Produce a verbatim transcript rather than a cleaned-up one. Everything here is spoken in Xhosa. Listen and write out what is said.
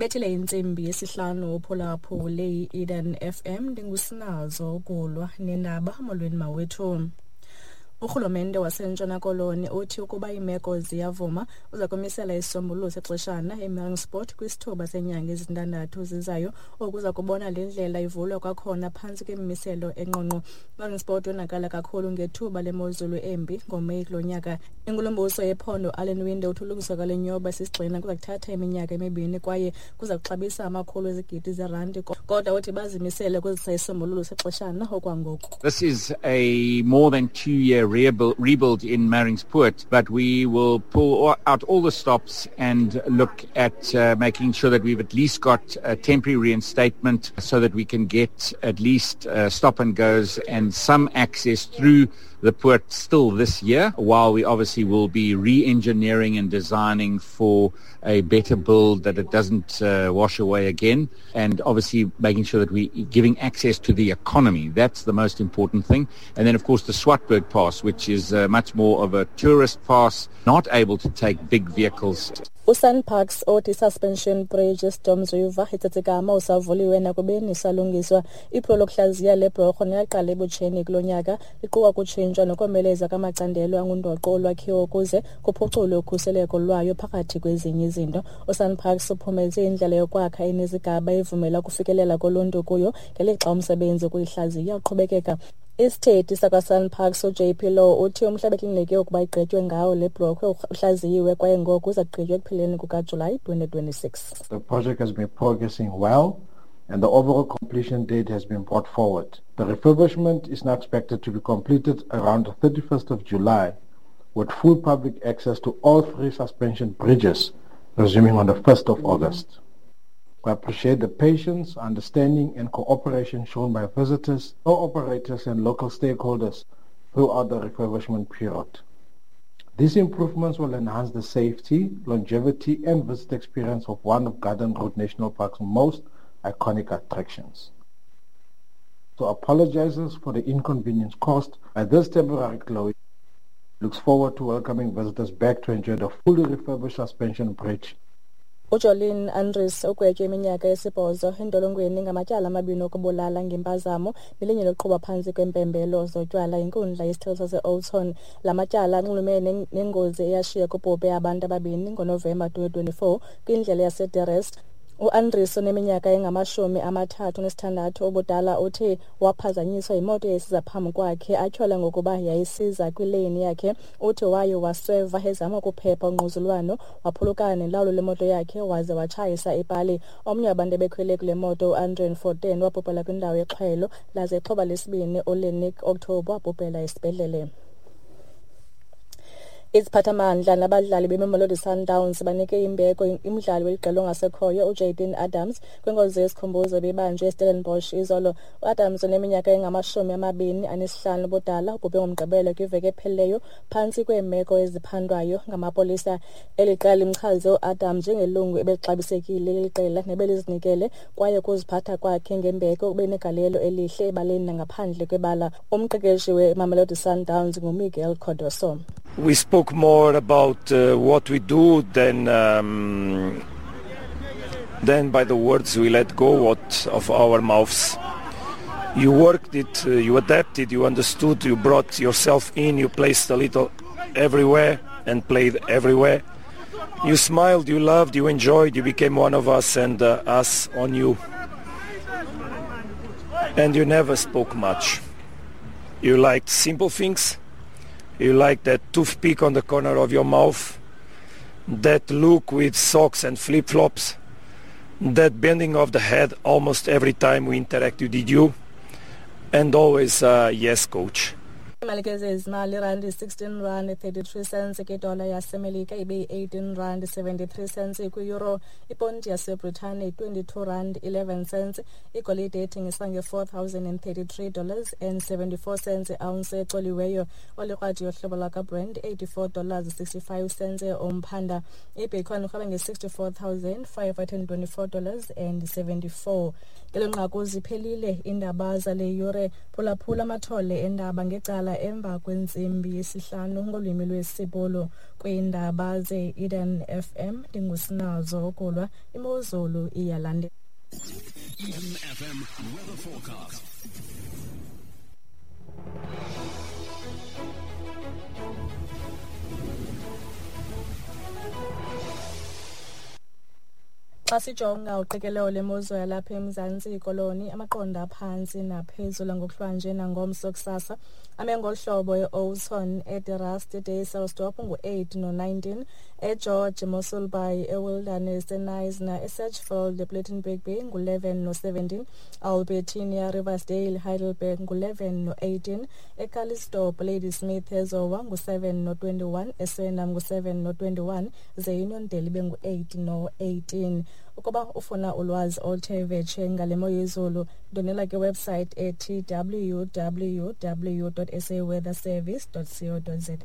Ibethile intsimbi yesihlanu uphulaphule i-Eden F M. Ndingusinazo ukulwa nendaba. Molweni mawethu. Urhulumente waseNtshona Koloni uthi ukuba iimeko ziyavuma uza kumisela isisombululo sexeshana eMeiringspoort kwisithuba seenyanga ezintandathu zizayo. Oku kuza kubona le ndlela ivulwa kwakhona phantsi kwemimiselo engqongqo. IMeiringspoort yonakala kakhulu ngethuba lemozulu embi ngoMeyi kulo nyaka. Inkulumbuso yephondo Alan Winde uthi ulungiswa kwale nyoba sisigxina kuza kuthatha iminyaka emibini kwaye kuza kuxabisa amakhulu ezigidi zeerandi, kodwa uthi bazimisele ukuzisa isisombululo sexeshana okwangoku. This is a more than two-year rebuild in Meiringspoort, but we will pull out all the stops and look at uh, making sure that we've at least got a temporary reinstatement so that we can get at least uh, stop and goes and some access through the port still this year, while we obviously will be re-engineering and designing for a better build that it doesn't uh, wash away again, and obviously making sure that we're giving access to the economy. That's the most important thing. And then, of course, the Swartberg Pass, which is uh, much more of a tourist pass, not able to take big vehicles. USanparks othi suspension bridge eStorms River eTsitsikama usavuliwe nakubeni isalungiswa. Iphulo lokuhlaziya le bhorho neyaqala ebutsheni kulo nyaka liquka kutshintshwa nokomeleza kwamacandelo angundoqo olwakhiwo ukuze kuphuculwe ukhuseleko lwayo phakathi kwezinye izinto. USanparks uphumeze indlela yokwakha enezigaba evumela ukufikelela koluntu kuyo ngelixa umsebenzi wokuyihlaziya uqhubekeka. Isithethi sakwaSanparks uJ P Law uthi umhla beklinike ukuba igqitywe ngawo le blokhwe uhlaziyiwe kwaye ngoku uza kugqitywa ekupheleni kukaJulayi twenty twenty-six. The project has been progressing well and the overall completion date has been brought forward. The refurbishment is now expected to be completed around the thirty-first of July, with full public access to all three suspension bridges resuming on the first of August. We appreciate the patience, understanding and cooperation shown by visitors, operators and local stakeholders throughout the refurbishment period. These improvements will enhance the safety, longevity and visitor experience of one of Garden Route National Park's most iconic attractions. So apologizes for the inconvenience caused by this temporary closure. Looks forward to welcoming visitors back to enjoy the fully refurbished suspension bridge. UJolene Andries ugwetywe iminyaka esibhozo entolongweni ngamatyala amabini okubulala ngempazamo nelinye lokuqhuba phantsi kwempembelo zotywala inkundla yesithili sase-Oudtshoorn. La matyala anxulumene nengozi eyashiya kubhubhe abantu ababini ngoNovemba twenty twenty-four kwindlela yaseDerest. UAndries oneminyaka engamashumi amathathu nesithandathu ubudala uthi waphazanyiswa yimoto eyayisiza phambi kwakhe atyhola ngokuba yayisiza kwileyini yakhe. Uthi waye wasweva ezama ukuphepha ungquzulwano, waphulukana nelawulo lemoto yakhe waze watshayisa ipali. Omnye wabantu ebekhwele kule moto uAndrian Forten wabhubhela kwindawo yexhwelo, laze ixhoba lesibini uLenick October wabhubhela esibhedlele. Iziphathamandla nabadlali beMamelodi Sundowns banike imbeko imidlali weliqela ongasekhoyo uJayden Adams kwinkonzo yesikhumbuzo ebibanjwe eStellenbosch izolo. UAdams oneminyaka engamashumi amabini anesihlanu ubudala ubhubhe ngoMgqibelo kwiveki ephelileyo phantsi kweemeko eziphandwayo ngamapolisa. Eli qela limchaze uAdams njengelungu ebelixabisekile leli qela nebelizinikele kwaye ukuziphatha kwakhe ngembeko ube negalelo elihle ebaleni nangaphandle kwebala. Umqeqeshi weMamelodi Sundowns nguMiguel Cardoso. We spoke more about uh, what we do than um, than by the words we let go what of our mouths. You worked it, uh, you adapted, you understood, you brought yourself in, you placed a little everywhere and played everywhere. You smiled, you loved, you enjoyed, you became one of us and uh, us on you. And you never spoke much. You liked simple things. You like that toothpick on the corner of your mouth, that look with socks and flip-flops, that bending of the head almost every time we interacted with you, and always, uh, yes, coach. Imali ke zezimali irandi sixteen rand thirty-three cents kwidola yaseMelika ibe yi-eighteen rand seventy-three cents kwi-euro, iponti yaseBritane twenty-two rand eleven cents, igolide ethengiswa nge-four thousand and thirty-three dollars and seventy-four cents ounce ecoliweyo, olikrwadi yohlobo lwakwaBrent eighty-four dollars sixty-five cents umphanda, ibitcoin irhweba nge-sixty-four thousand five hundred and twenty-four dollars and seventy-four. Ngelo nqaku ziphelile iindaba zale yure. Phulaphula amathole endaba ngecala ukusukela emva kwentsimbi yesihlanu ngolwimi lwesiBhulu. Kwiindaba ze-Eden F M ndingusinazo ukulwa imozulu iyalandela. Eden F M weather forecast. Xa sijonga uqikelelo lemozulu yalapha eMzantsi Koloni, amaqondo aphantsi naphezulu ngokuhlwanje nangomso kusasa ame ngolu hlobo: e-Oudtshoorn, eDe-Rust, eDysselsdorp ngu-eight no-nineteen, eGeorge, Mossel Bay, eWilderness, eKnysna, eSedgefield, ePlettenberg Bay ngu-eleven no-seventeen, Albertinia, Riversdale, Heidelberg ngu-eleven no-eighteen, eCalitzdorp, Ladysmith, eZowa ngu-seven no-twenty-one, eSwellnum ngu-seven no-twenty-one, ze Uniondale ibe ngu-eight no-eighteen. Ukuba ufuna ulwazi oluthe vetshe ngale mo yezulu, ndonela kwiwebsite ethi w w w dot s a weather service dot co dot za.